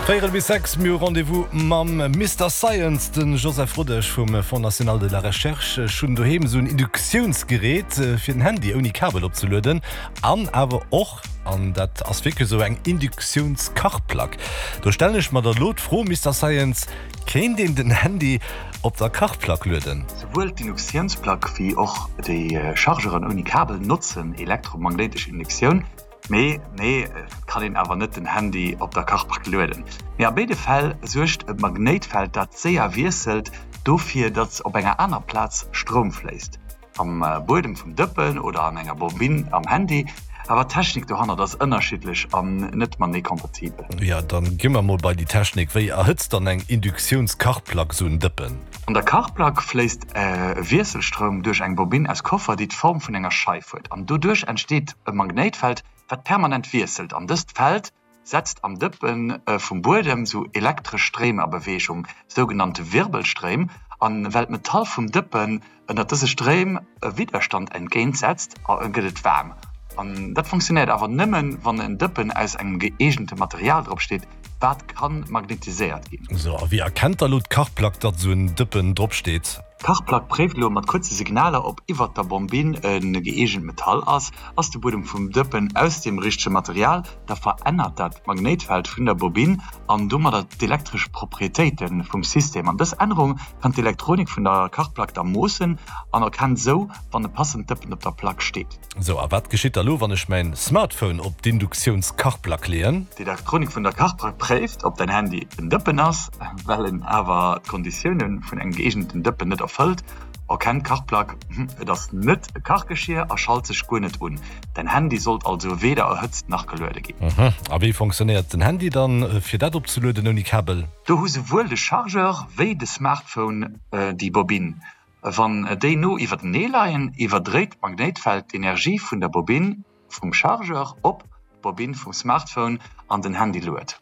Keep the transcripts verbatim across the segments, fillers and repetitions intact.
Véierel bis sechs, mir hu Rendez-vous mam Mister Science, de Joseph Rodesch vum Fonds National de la Recherche. Ech hunn doheem esou en Induktiounsgerät fir den Handy ouni Kabel opzelueden an awer och, an dat ass wierklech esou, eng Induktiounskachplack. Do stellen ech mer da lo d'Fro, Mister Science, Kéint een den Handy op der Kachplack lueden? Souwuel d'Induktiounsplack wéi och déi Chargeren ouni Kabel notzen elektromagnéitesch Induktioun. Mee nee, et kann een awer net den Handy op der Kachplack lueden. Mee a béide Fäll suergt e Magnéitfeld, dat séier wiesselt, dofir, datt op enger aner Plaz Stroum fléisst, am Buedem vum Dëppen oder an enger Bobinn am Handy. Awer d'Technik dohannert ass ënnerschiddlech an net matenee kompatibel. Jo, dann gi mer mol bei déi Technik. Wéi erhëtzt dann eng Induktiounskachplack sou en Dëppen? An der Kachplack fléisst e Wiesselstroum duerch eng Bobinn aus Koffer, déi d'Form vun enger Scheif huet. An doduerch entsteet e Magnéitfeld, wat permanent wiesselt. An dëst Feld setzt am Dëppe vum Buedem sou elektresch Stréim a Beweegung, sougenannte Wirbelstréim. A well d'Metall vum Dëppen ënner dëse Stréim e Widderstand entgéint setzt, gëtt et waarm. An dat funktionéiert awer nëmmen, wann en Dëppen aus engem gëeegente Material drop steet, wat ka magnetiséiert ginn. Sou, a wéi erkennt da lo d'Kachplack, datt sou en Dëppen drop steet? D'Kachplack préift elo mat kuerze Signaler, ob iwwert der Bombinn e gëeegent Metall ass. Ass de Buedem vum Dëppen aus deem richtege Material, da verännert dat d'Magnéitfeld vun der Bobinn an domadder d'elektresch Proprietéite vum System. An dës Ännerung kann d'Elektronik vun der Kachplack da moossen an erkennt esou, wann e passend Dëppen op der Plack steet. Sou, a wat geschitt da lo, wann ech mäin Smartphone op d'Induktiounskachplack leeën? D'Elektronik vun der Kachplack préift, ob däin Handy en Dëppen ass. Well en awer d'Konditioune vun engem gëeegenten Dëppen net erfëllt, erkennt d'Kachplack, et ass net e Kachgeschier a schalt sech guer net un. Däin Handy sollt also weder erhëtzt nach geluede ginn. A wéi fonctionnéiert den Handy dann, fir dat opzelueden ouni Kabel? Do hu souwuel de Chargeur wéi de Smartphone déi Bobinn. Wann déi no iwwertenee leien, iwwerdréit d'Magnéitfeld d'Energie vun der Bobinn vum Chargeur op d'Bobinn vum Smartphone an den Handy luet.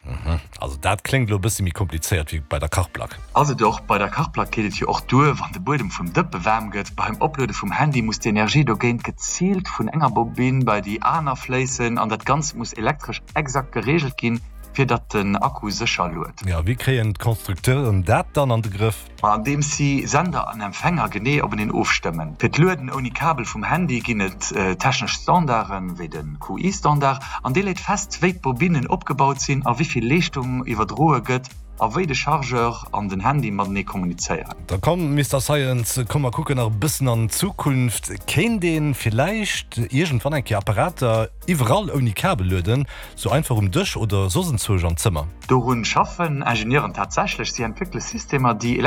Also dat kléngt elo e bësse méi komplizéiert wéi bei der Kachplack. Ass et och. Bei der Kachplack geet et jo och duer, wann de Buedem vum Dëppe waarm gëtt. Beim Opluede vum Handy muss d'Energie dogéint geziilt vun enger Bobinn bei déi aner fléissen an dat Ganzt muss elektresch exakt gereegelt ginn, fir datt den Akku sécher luet. Jo, wéi kréien d'Constructeuren dat dann an de Grëff? Ma andeems si Sender an Empfänger genee openeen ofstëmmen. Fir d'Lueden ouni Kabel vum Handy ginn et technesch Standarden, wéi de Q I-Standard, an dee leet fest, wéi d'Bobinnen opgebaut sinn a wéi vill Leeschtung iwwerdroe gëtt a wéi de Chargeur an den Handy matenee kommunizéieren. Da komm, Mister Science, komm mer kucken nach e bëssen an d'Zukunft. Kéint ee villäicht iergendwann eng Kéier Apparater iwwerall ouni Kabel lueden, sou einfach um Dësch oder soss enzwousch am Zëmmer? Dorun schaffen Ingenieuren tatsächlech. Si entwéckele Systemer, déi